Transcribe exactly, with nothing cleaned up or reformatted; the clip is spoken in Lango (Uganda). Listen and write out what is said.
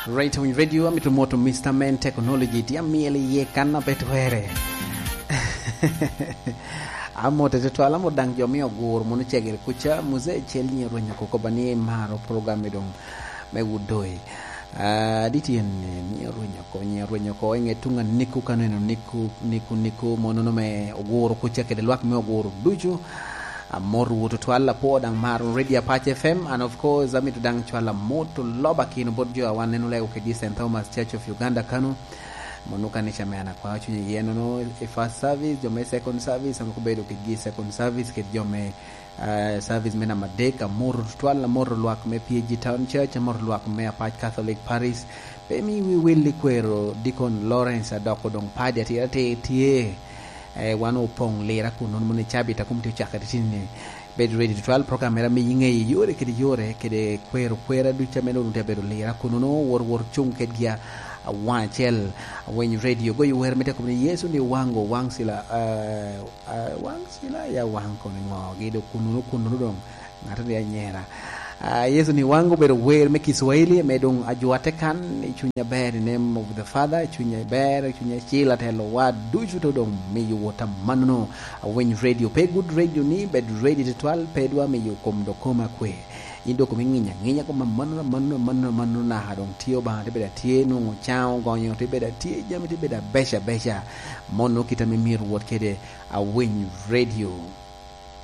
Right on Radio, amito moto Mister Man Technology, tye amyel iye kan a pe twere. Amote tutwal, amot daŋ jo me Ogur mono cegere kuca, Muzee Cel nyi rwenyo koko ba ni maro program i doŋ me Wudoi. Ah, di tyen ni, nyi rwenyo ko, nyi rwenyo ko, i ŋe tuŋ a Niku kano eno, Niku, Niku, Niku, mono no me Ogur kuca kede lwak me Ogur ducu. Amot wot tutwal, apwo daŋ maro Radio Apac F M, and of course, amito daŋ cwalo amot oloba kino bot jo a wan neno lego kedi Saint Thomas Church of Uganda kano. Mono kanica me an akwao cuny iye nono, i first service, jo me second service, an obedo kedi second service, kedi jo me, eh, service me namba adek, amot tutwal, amot lwak me P A G Town Church, amot lwak me Apac Catholic Parish. Pe mi wi wil i kwero Deacon Lawrence Adoko doŋ padi atira te tye. Eh, wan opoŋ lira kun nono mono i cabit a kom tye ocakere tini. Bed ready tutwal, program era miyi ŋeyo yore kede yore, kede kwero kwera ducu ame doŋ tye abedo lira kun nono wor, wor cuŋ kedgi a, a waŋ acel, a winy radio, goyo wer me te kom ni Yesu ni waŋgo, waŋ sila, eh, eh, waŋ sila ya waŋ kono ŋo, gi do kun nono, kun nono doŋ ŋat ni anyera. Ah, Yesu ni waŋ obedo wer me Kiswahili, me doŋ ajwatte kan, i cuny aber, in name of the Father, i cuny aber, i cuny acil, atelo wa ducu to doŋ miyo wot amanno. Awiny radio, pe good radio ni, bed ready tutwal, pe dwa miyo kom do kom akwe. In do kom iŋinya, ŋinya kom amanno, amanno, amanno, amanno, naka doŋ tye Obaŋa, te bedo atye nwoŋo caŋo gonyo, te bedo atye jami, te bedo abeca, abeca. Mono kit ame myero wot kede Awiny radio.